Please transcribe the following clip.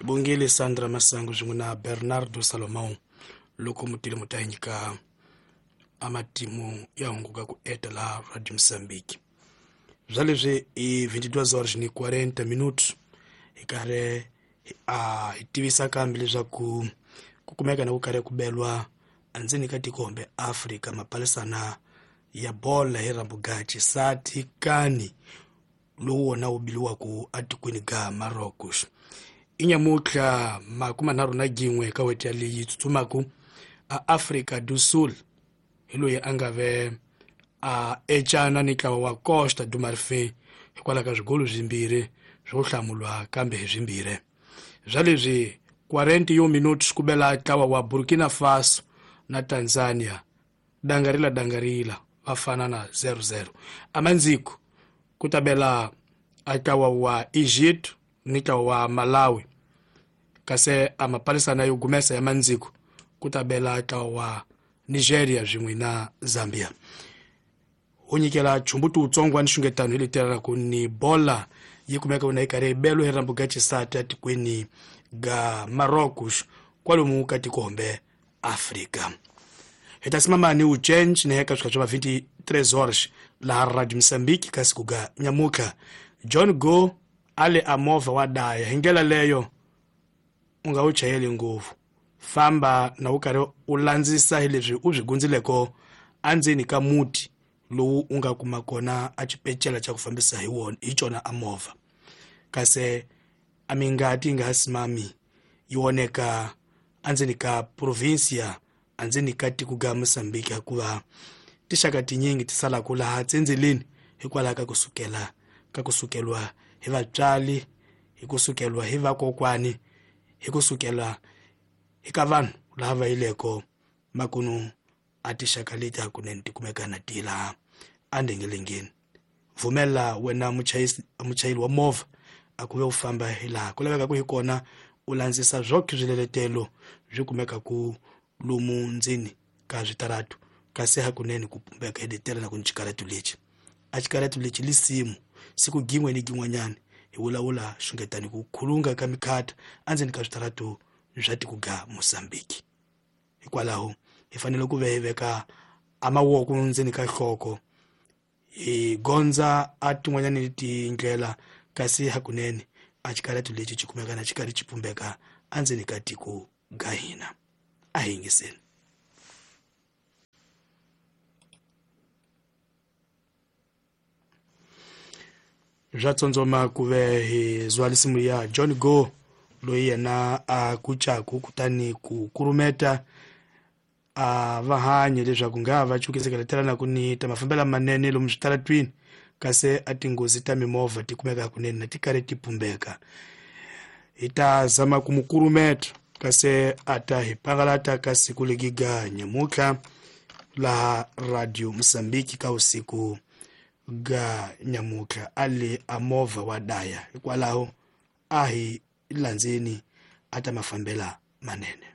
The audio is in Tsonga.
Bongile Sandra Masango swin'we na Bernardo Salomão loko mutile mu ta hi nyika amatimu ya hunguka ku eta laha Radio Mozambique. Bya leswi i 22 horas ni 40 minutos hi karhi a hi tivisa kambe leswaku ku kumeka na ku karhi ku belwa endzeni ka tiko kumbe Afrika mapalisana ya bola hi rambugachi sati kani lowu wona wu biliwaku atikweni ga Marocos. I nyamutlha 31 ka weti leyi tsutsumaku a Afrika do Sul hi loyi a nga ve a ecana ni ntlawa wa Costa do Marfim hikwalaho ka swigolo swimbirhi swo hlamulwa kambe hi swimbirhi. Bya leswi 40 minutos ku bela ntlawa wa Burkina Faso na Tanzania dangarila dangarila va fana na 0-0. Amandziko ku ta bela ntlawa wa Egypt ni ntlawa wa Malawi, kasi a mapalisana yo gumesa ya mandziko ku ta bela ntlawa wa Nigeria swin'we na Zambia. Ho nyikela chumbuti wutsongo wa nxungetano hi leteraka ni bola yi kumeka wona yi karhi yi belo hi rambuga xisati atikweni ga Marocos kwalomu ka tiko hombe Afrika. Hi ta simama ni u change ni heka swika swa 23 horas laha Radio Mozambique ka siku ga nyamutlha. John Go ale a movha wa daya hi ndlela leyo u nga wu chayeli ngopfu, famba na wu karhi u landzisa hi leswi u swi gundzileko endzeni ka muti lowu u nga kuma kona a xipecela xa ku fambisa hi wona hi xona a movha, kasi a mingati yi nga ha simami yi oneka endzeni ka provincia endzeni ka tiko ga Mozambique, hikuva tixaka tinyingi ti salaka laha tsendzeleni hikwalaho ka ku sukela ka ku sukeliwa hi vatswari, hi ku sukeliwa hi vakokwani, hi ku sukela hi ka vanhu lava va yileko makunu a tixaka leti hakunene ti kumeka na ti laha endengelengeni. Pfumela wena muchayeri wa movha a ku ve u famba hi laha ku lavekaka hi kona, u landzisa swoke swiletelo swi kumeka ku lomu ndzeni ka switaratu, kasi hakunene ku pumbeka hi letela na ku ni xikaratu lexi a xikaratu lexi lisimu siku gin'we ni gin'wanyana hi vulavula xungetani ku khulunga ka mikhata endzeni ka switaratu swa tiko ga Mozambique. Hikwalaho hi fanele ku ve hi veka a mavoko ndzeni ka nhloko hi gondza a tin'wanyani tindlela, kasi hakunene a xikaratu lexi xi kumeka na xi karhi xi pumbeka endzeni ka tiko ga hina. A hi yingiseni. Bya tsondzoma ku ve hi zwa lisimu ya John Go loyi yena a kucaku kutani ku kurumeta a va hanye leswaku nga va cukisekela ku ni ta mafambelo manene lomu switaratwini, kasi a tinghozi ta mimovha ti kumeka hakunene na ti karhi ti pumbeka. Hi ta zama ku mu kurumeta kasi a ta hi pangalata ka siku legiga nyamutlha laha Radio Mozambique ka usiku ga nyamutlha a le a movha wa daya, hikwalaho a hi landzeni a ta mafambela manene.